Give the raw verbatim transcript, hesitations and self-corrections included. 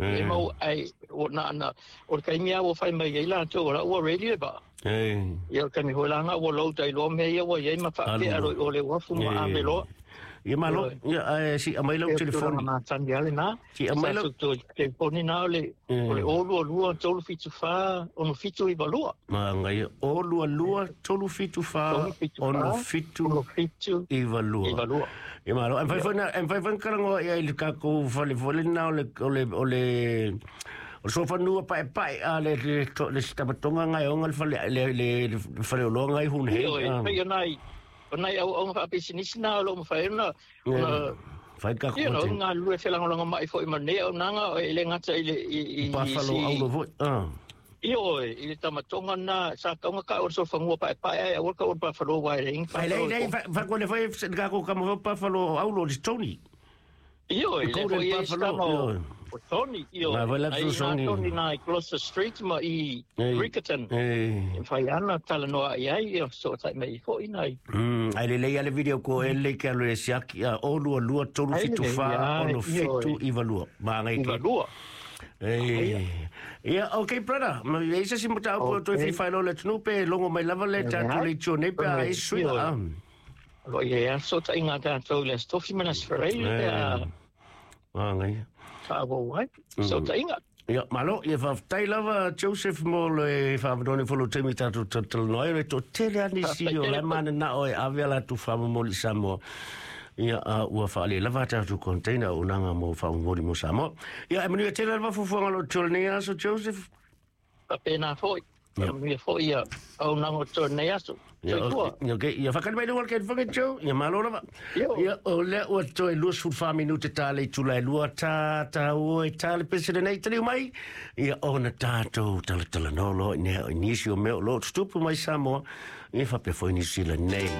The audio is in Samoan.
E mau ai o na na o le kaimi a ua fai mai ai latou o la ua ready le vaa. Ia o le taimi foi laga ua load ai loa mea ia ua iai ma faapea alo i o le uafu ma ave loa. Ia malo, ia ae si aumai lau telefoni. Matagi lava lena. Si aumai lau telefoni na o le o le o lua lua tolu fitu fa ono fitu iva lua. Magaia o lua lua tolu fitu fa ono fitu iva lua. Ia malo, e mafai foi na e mafai foi na talanoa ia i le tatou fale foi lena o le o le o le o le sofanua paepae a le le le sitamatoga gaeoga le fale le le faleoloa gai hunhei. Ioe, pei o nai o nai auauga faapisinisi na o loo mafai ona ona fai ka you know galulue felagolagomai foi ma lenei auaunaga e le gata i le i i Buffalo aulo foi. Ah. Ioe, i le tamatoga lena sa tauga ka o le sofagua paepae ae aua le tau o le Buffalo uae leai ni Ai lei lei fa ko le foi ka ko ka mo Buffalo aulo le Tony. Ioe, lea foi i ai se tama o Tony, ioe, ai ina Tony na i Gloucester Street ma i Riccarton, e mafai lava ona talanoa i ai, ia fesootai mai ai foi nai. Ai lelei lava le video ko e lelei ke alo e siaki a o lua lua tolu fitu fa ono fitu iwa lua. Maangai ke. Iwa lua. Ia, okay brother, ma i ai se isi mataupu o toe fia faailoa i le atunuu pe logo mai lava le tatou leitio nei pe a ai se suiga. O lo o i ai lava le fesootaiga a tatou i le Aso Tofi ma le Aso Faraile pe a Magaia. faaauau ai fesootaiga. Ia, malo, ia faafetai lava Joseph mo le faaavanoa nei foi lou taimi tatou talatalanoa ai, o le toatele lava nisi o la e mananao e ave a latou faamomoli i Samoa. Ia, a ua faalelava a tatou container auaunaga mo faamomoli mo Samoa. Ia, e manuia tele lava fuafuaga o lo o totoe i lenei aso, Joseph. Faapena foi. Manuia foi ia auaunaga o totoe i lenei aso. Soifua. Ia, okay. Ia, faakali mai luga o le telefoni, Joe. Ia, malo lava. Ia, o lea ua toe luasefulu fa minute ta le itula e lua, ta, ta ua e ta le pese lenei taliu mai. Ia, ona tatou talatalanoa loa i nisi o mea o lo o tutupu mai Samoa, ia faapea foi Niu Sila nei.